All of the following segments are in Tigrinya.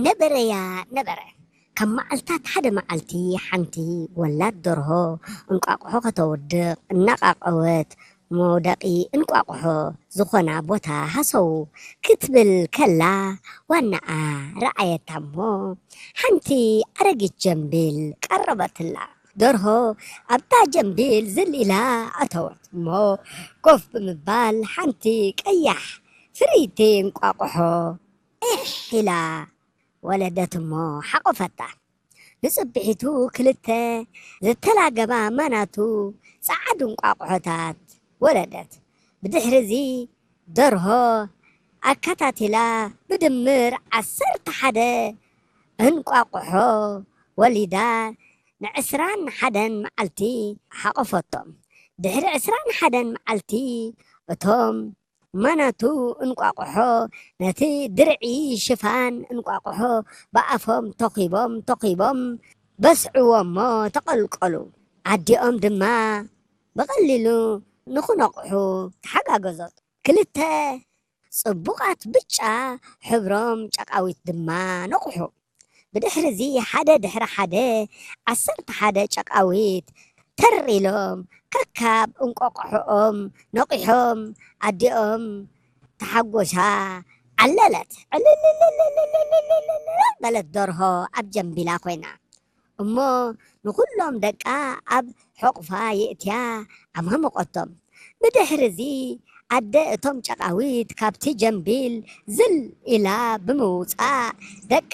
ነበረያ ነበረ። ካብ መዓልታት ሓደ መዓልቲ ሓንቲ ወላድ ደርሆ እንቋቑሖ ከተውድቕ እናቓቐወት፣ መውደቒ እንቋቑሖ ዝኾና ቦታ ሃሰው ክትብል ከላ፣ ዋናኣ ረኣየታ እሞ፣ ሓንቲ ኣረጊት ጀምቢል ቀረበትላ። ደርሆ ኣብታ ጀምቢል ዝል ኢላ ኣተወት እሞ፣ ኮፍ ብምባል ሓንቲ ቀያሕ ፍርይቲ እንቋቑሖ ዒሕ ኢላ ወለደት እሞ ሓቖፈታ። ንጽብሒቱ ክልተ ዝተላገባ ማናቱ ጸዓዱ እንቋቑሖታት ወለደት። ብድሕሪዚ ደርሆ ኣከታቲላ ብድምር ዓሰርተ ሓደ እንቋቑሖ ወሊዳ፣ ንዕስራን ሓደን መዓልቲ ሓቖፈቶም። ድሕሪ ዕስራን ሓደን መዓልቲ እቶም ማናቱ እንቋቑሖ ነቲ ድርዒ ሽፋን እንቋቑሖ ብኣፎም ተኺቦም ተኺቦም በስዕዎ እሞ ተቐልቀሉ። ኣዲኦም ድማ ብቐሊሉ ንኽነቕሑ ተሓጋገዞት። ክልተ ጽቡቓት ብጫ ሕብሮም ጨቓዊት ድማ ነቑሑ። ብድሕሪዚ ሓደ ድሕሪ ሓደ ዓሰርተ ሓደ ጨቓዊት ተር ኢሎም ከካብ እንቋቑሖኦም ነቒሖም ኣዲኦም ተሓጎሳ ዓለለት። ዕልልልልልልልልልልልል በለት ደርሆ ኣብ ጀምቢላ ኮይና። እሞ ንኹሎም ደቃ ኣብ ሕቑፋ የእትያ ኣማሙቐቶም። ብድሕሪዚ ኣደ እቶም ጨቓዊት ካብቲ ጀምቢል ዝል ኢላ ብምውጻእ፣ ደቃ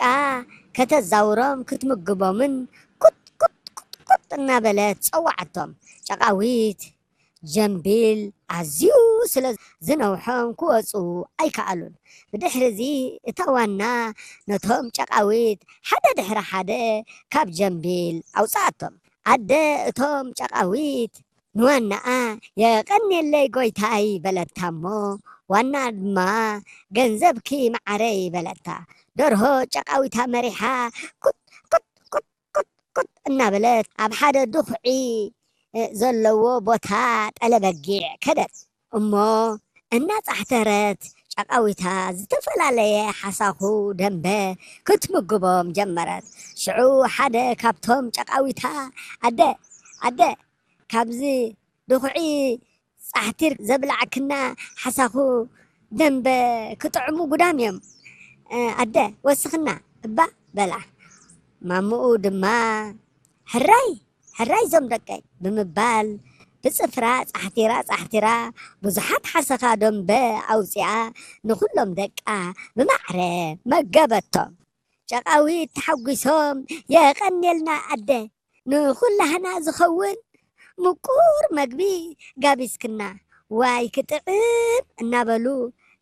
ከተዛውሮም ክትምግቦምን ኩጥ ኩጥ ኩጥ ኩጥ እናበለት ጸዋዓቶም። ጨቓዊት ጀምቢል ኣዝዩ ስለ ዝነውሖም ክወጹ ኣይከኣሉን። ብድሕሪዚ እታ ዋና ነቶም ጨቓዊት ሓደ ድሕሪ ሓደ ካብ ጀምቢል ኣውጽኣቶም። ኣደ እቶም ጨቓዊት ንዋናኣ፣ "የቐንየለይ ጎይታይ" በለታ እሞ፣ ዋና ድማ፣ "ገንዘብኪ መዓረይ" በለታ። ደርሆ ጨቓዊታ መሪሓ ኩጥ ኩጥ ኩጥ ኩጥ ኩጥ እናበለት ኣብ ሓደ ድኹዒ፣ እ፣ ዘለዎ ቦታ ጠለበጊዕ ከደት። እሞ እናጻሕተረት ጨቓዊታ ዝተፈላለየ ሓሳኹ ደንበ ክትምግቦም ጀመረት። ሽዑ ሓደ ካብቶም ጨቓዊታ፣ "ኣደ፣ ኣደ፣ ካብዚ ድኹዒ ጻሕቲር ዘብላዕክና ሓሳኹ ደንበ ክጥዕሙ ጉዳም እዮም። እ፣ ኣደ፣ ወስኽና እባ" በላ። ማምኡ ድማ፣ "ሕራይ፣ ሕራይ ዞም ደቀይ" ብምባል ብጽፍራ ጻሕቲራ ጻሕቲራ ብዙሓት ሓሰኻ ደንበ ኣውጺኣ ንኹሎም ደቃ ብማዕረ መገበቶም። ጨቓዊት ተሓጒሶም፣ "የቐንየልና ኣደ፣ ንኹላህና ዝኸውን ምቁር መግቢ ጋቢዝክና፣ ዋይ ክጥዕም" እናበሉ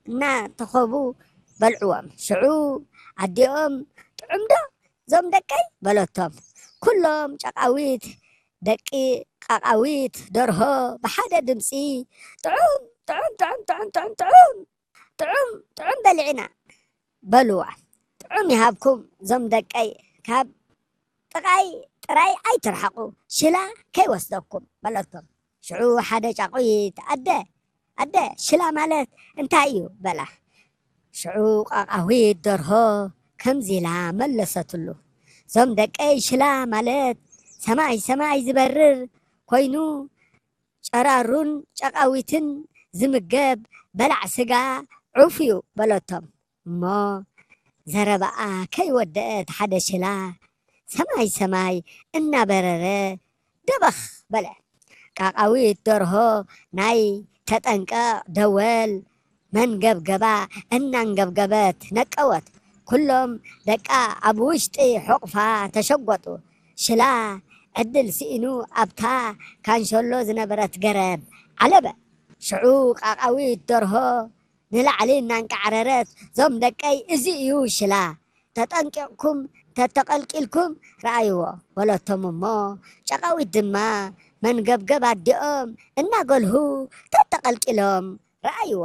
እናተኸቡ በልዕዎም። ሽዑ ኣዲኦም፣ "ጥዑም ዶ ዞም ደቀይ?" በለቶም። ኩሎም ጨቓዊት፣ ደቂ ቃቓዊት ደርሆ ብሓደ ድምጺ፣ "ጥዑም፣ ጥዑም፣ ጥዑም፣ ጥዑም፣ ጥዑም፣ ጥዑም፣ ጥዑም በሊዕና" በልዋ። "ጥዑም ይሃብኩም ዞም ደቀይ፣ ካብ ጥቓይ ጥራይ ኣይትርሓቑ፣ ሽላ ከይወስደኩም" በለቶም። ሽዑ ሓደ ጫቑት፣ "ኣደ፣ ኣደ፣ ሽላ ማለት እንታይ እዩ?" በላ። ሽዑ ቃቓዊት ደርሆ ከምዚ ኢላ መለሰትሉ፣ "ዞም ደቀይ፣ ሽላ ማለት ሰማይ ሰማይ ዝበርር ኮይኑ፣ ጨራሩን ጨቓዊትን ዝምገብ በላዕ ስጋ ዑፍ እዩ" በለቶም። እሞ ዘረባኣ ከይወደአት ሓደ ሽላ ሰማይ ሰማይ እናበረረ ደበኽ በለ። ቃቓዊት ደርሆ ናይ ተጠንቀቕ ደወል መንገብገባ እናንገብገበት ነቀወት። ኩሎም ደቃ ኣብ ውሽጢ ሕቑፋ ተሸጎጡ። ሽላ ዕድል ስኢኑ ኣብታ ካንሸሎ ዝነበረት ገረብ ዓለበ። ሽዑ ቃቓዊት ደርሆ ንላዕሊ እናንቃዕረረት፣ "ዞም ደቀይ፣ እዚ እዩ ሽላ፣ ተጠንቂቕኩም ተተቐልቂልኩም ረኣይዎ" በለቶም። እሞ ጨቓዊት ድማ መንገብገብ ኣዲኦም እናገልሁ ተተቐልቂሎም ረኣይዎ።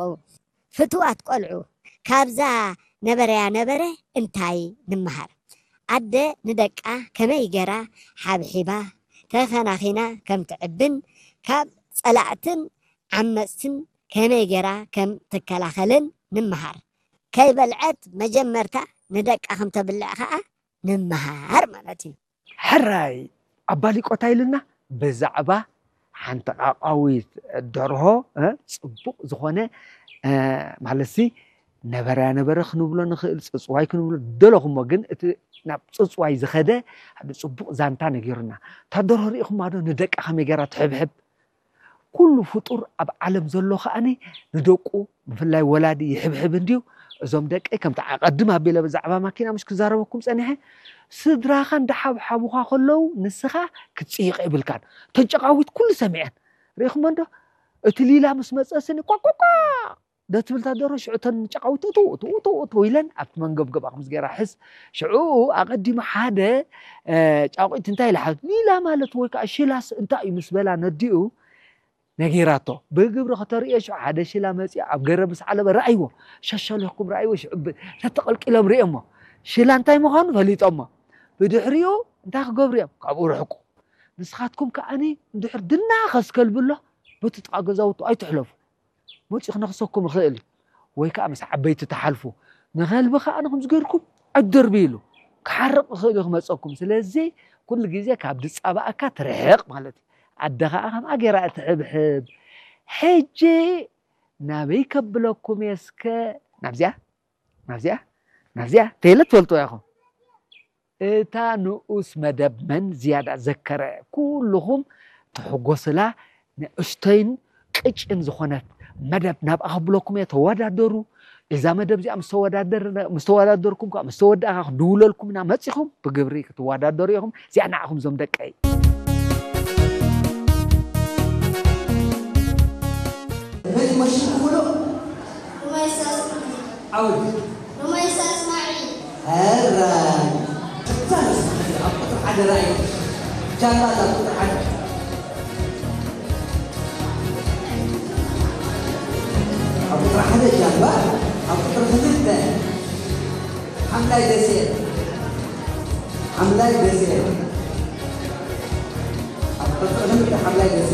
ፍትዋት ቆልዑ፣ ካብዛ ነበረያ ነበረ እንታይ ንመሃር? ኣደ ንደቃ ከመይ ገራ ሓብሒባ ተኸናኺና ከም ትዕብን፣ ካብ ጸላእትን ዓመጽትን ከመይ ገራ ከም ትከላኸልን ንምሃር። ከይበልዐት መጀመርታ ንደቃ ከም ተብልዕ ኸዓ ንምሃር ማለት እዩ። ሕራይ ኣባሊቆታ ኢልና ብዛዕባ ሓንቲ ቃቃዊት ደርሆ፣ እ፣ ጽቡቕ ዝኾነ፣ እ፣ ማለትሲ ነበረያ ነበረ ክንብሎ ንኽእል፣ ጽጽዋይ ክንብሎ ደለኹሞ፣ ግን እቲ ናብ ጽጽዋይ ዝኸደ ሓደ ጽቡቕ ዛንታ ነጊሩና። እታ ደርሆ ርኢኹማ ዶ ንደቃ ከመይ ገይራ ትሕብሕብ? ኩሉ ፍጡር ኣብ ዓለም ዘሎ ከኣኒ ንደቁ፣ ብፍላይ ወላዲ ይሕብሕብ እንድዩ። እዞም ደቀይ ከምቲ ኣቐድም ኣቢለ ብዛዕባ ማኪና ምሽ ክዛረበኩም ጸኒሐ፣ ስድራኻ እንዳሓብሓቡኻ ከለዉ ንስኻ ክትጽይቕ የብልካን። እተን ጨቓዊት ኩሉ ሰሚዐን። ርኢኹሞ እንዶ? እቲ ሊላ ምስ መጸ ስኒ ቋቋቋ ዶ ትብል እታ ደርሆ፣ ሽዑ እተን ጨቓዊት እትው እትው እትው እትው ኢለን ኣብቲ መንገብገባ ከምዚ ገይራ ሕስ። ሽዑ ኣቐዲሙ ሓደ፣ እ፣ ጫቑት እንታይ ኢላ ሓ-፣ ሊላ ማለት ወይ ከዓ ሽላስ እንታይ እዩ ምስ በላ ነዲኡ ነጊራቶ። ብግብሪ ከተርእዮ ሽዑ ሓደ ሽላ መጺኡ ኣብ ገረብ ምስ ዓለበ ረኣይዎ። ሸሸለኩም ረኣይዎ። ሽዑ ብ-፣ ተተቐልቂሎም ርእዮሞ። ሽላ እንታይ ምዃኑ ፈሊጦሞ። ብድሕሪኡ እንታይ ክገብሩ እዮም? ካብኡ ርሕቁ። ንስኻትኩም ከኣኒ እንድሕር ድና ከስከልብሎ በቲ ጥቓ ገዛውቱ ኣይትሕለፉ። መጺኡ ክነኽሰኩም ይኽእል እዩ። ወይ ከኣ ምስ ዓበይቲ ትሓልፉ። ንኸልቢ ከኣ ንኹም ዝገርኩም ኣይትደርብይሉ። ክሓርቕ ይኽእል እዩ ክመጸኩም። ስለዚ ኩሉ ግዜ ካብ ዝጻባኣካ ትርሕቕ ማለት እዩ። ኣደ ኸኣ ከምኣ ገይራ እትሕብሕብ። ሕጂ ናበይ ከብለኩም እየ እስከ? ናብዚኣ? ናብዚኣ? ናብዚኣ? ተይለ ትፈልጥዋ ኢኹም። እታ ንኡስ መደብ መን ዝያዳ ዘከረ? ኩልኹም ትሕጎስላ ንእሽተይን ቅጭን ዝኾነት መደብ ናብኣ ከብለኩም እየ። ተወዳደሩ። እዛ መደብ እዚኣ ምስ ተወዳደር-፣ ምስ ተወዳደርኩም ከኣ፣ ምስ ተወዳእካ ክንድውለልኩም ኢና። መጺኹም ብግብሪ ክትወዳደሩ ኢኹም። እዚኣ ንዓኹም እዞም ደቀይ። መን ይመስልኩም ብሎ? ሩመይሳ እስማዒል። ዓወት። ሩመይሳ እስማዒል። ሕራይ። እዛ ንስኻ ኣብ ቁጽሪ ሓደ ርኣይ። ጃምባ እዛ ቁጽሪ ሓደ። ኣብ ቁጽሪ ሓደ ጃምባ፣ ኣብ ቁጽሪ ክልተ ሓምላይ ደሴት። ሓምላይ ደሴት። ኣብ ቁጽሪ ክልተ ሓምላይ ደሴት።